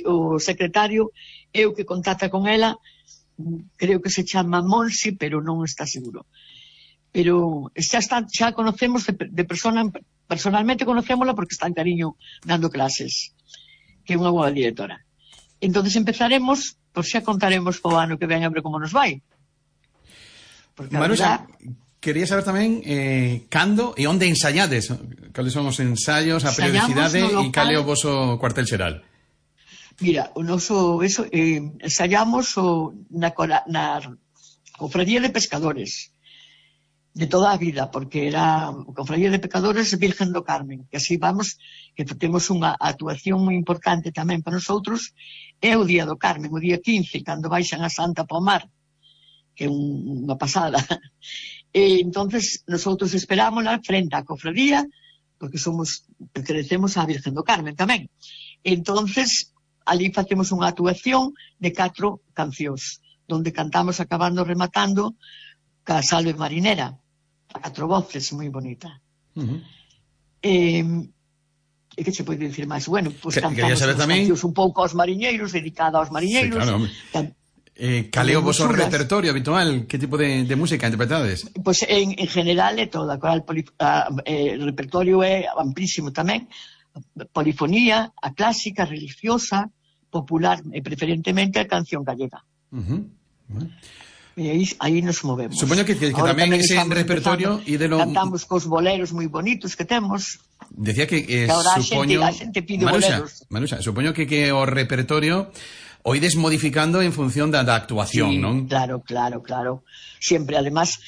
o secretario é o que contacta con ela, creo que se chama Monsi, pero non está seguro. Pero xa conocemos personalmente conocémola porque está en Cariño dando clases, que é unha boa directora. Entonces empezaremos, pois xa contaremos o ano que ven a ver como nos vai. Porque Maruxa, quería saber tamén cando e onde ensaiades, cales son os ensaios, a periodicidade e cal é o voso cuartel xeral. Mira, o noso ensaiamos na Cofradía de Pescadores de toda a vida, porque era Cofradía de Pescadores Virgen do Carmen, que así vamos, que temos unha actuación moi importante tamén para nosotros, é o Día do Carmen, o día 15, cando baixan a Santa Pomar, que é unha pasada. E entonces nosotros esperámosla frente á cofradía, porque pertenecemos á Virgen do Carmen tamén. Entonces ali facemos unha actuación de 4 cancións, donde cantamos acabando rematando ca Salve Marinera, a 4 voces, moi bonita. E que se pode dicir máis? Bueno, pues cantamos as cancións un pouco aos mariñeiros, dedicada aos mariñeiros. Sí, claro. Cal é o voso repertorio habitual? Que tipo de música interpretades? Pues en general é toda. O repertorio é amplísimo tamén. Polifonía, a clásica, religiosa, popular e preferentemente a canción gallega. E aí nos movemos. Supoño que tamén ese repertorio cantamos cos boleros moi bonitos que temos. Decía que supoño a xente pide boleros. Maruxa, supoño que o repertorio o ides modificando en función da actuación, sí, non? Claro. Sempre, además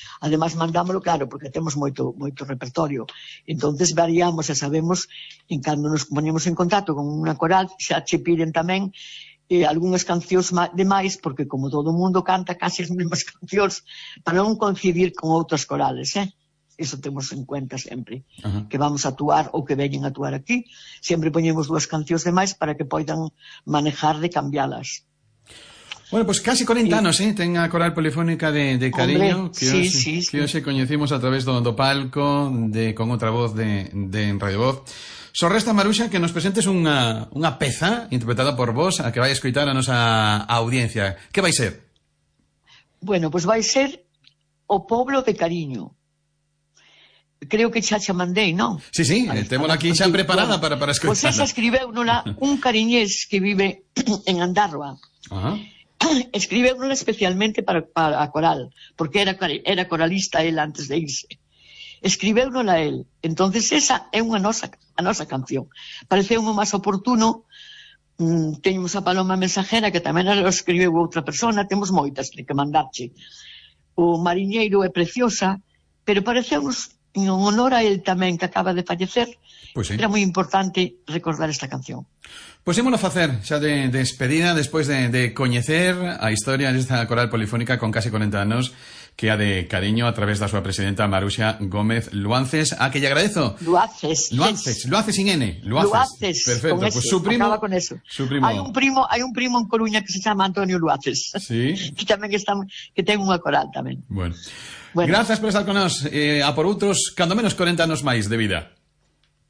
mandámoslo, claro, porque temos moito repertorio. Entonces variamos e sabemos, en cando nos ponemos en contacto con unha coral, xa che piden tamén algunhas cancións demais, porque como todo o mundo canta case as mesmas cancións, para non coincidir con outras corales, Eso temos en cuenta sempre. Que vamos a actuar ou que veñen a actuar aquí, sempre poñemos 2 cancións demais para que poidan manejar de cambialas. Bueno, pues casi 40 anos, ten a Coral Polifónica de Cariño. Hombre, que hoxe coñecimos a través do palco con outra voz de Radio Voz. Só resta, Maruxa, que nos presentes unha peza interpretada por vos a que vai escoitar a nosa audiencia. Que vai ser? Bueno, pues vai ser O Poblo de Cariño. Creo que xa mandei, non? Sí, témola aquí xa preparada para escoitar. Pois esa escribeunola un cariñés que vive en Andarroa. Escribeunola especialmente para a coral, porque era coralista él antes de irse. Escribeunola él. Entonces esa é a nosa canción. Pareceu-me máis oportuno. Teñemos a Paloma Mensajera, que tamén a escribeu outra persona. Temos moitas que mandarche. O Mariñeiro é preciosa, pero pareceu-nos en honor a él tamén, que acaba de fallecer, era moi importante recordar esta canción. Pois ímolo facer xa de despedida, despois de coñecer a historia desta coral polifónica con casi 40 anos, que a de Cariño a través da súa presidenta Maruxa Gómez Luances, a que lle agradezo. Luaces sin N. Luaces. Perfecto, pues su primo. Acaba con eso. Hai un primo en Coruña que se chama Antonio Luaces. Sí. Que tamén que ten unha coral tamén. Bueno. Grazas por estar con nós a por outros, cando menos 40 anos máis de vida.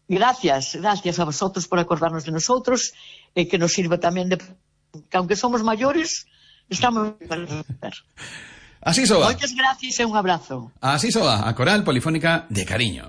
Gracias a vosotros por acordarnos de nosotros e que nos sirva tamén de que aunque somos maiores, estamos para ver. Así soa. Moitas gracias e un abrazo. Así soa, a Coral Polifónica de Cariño.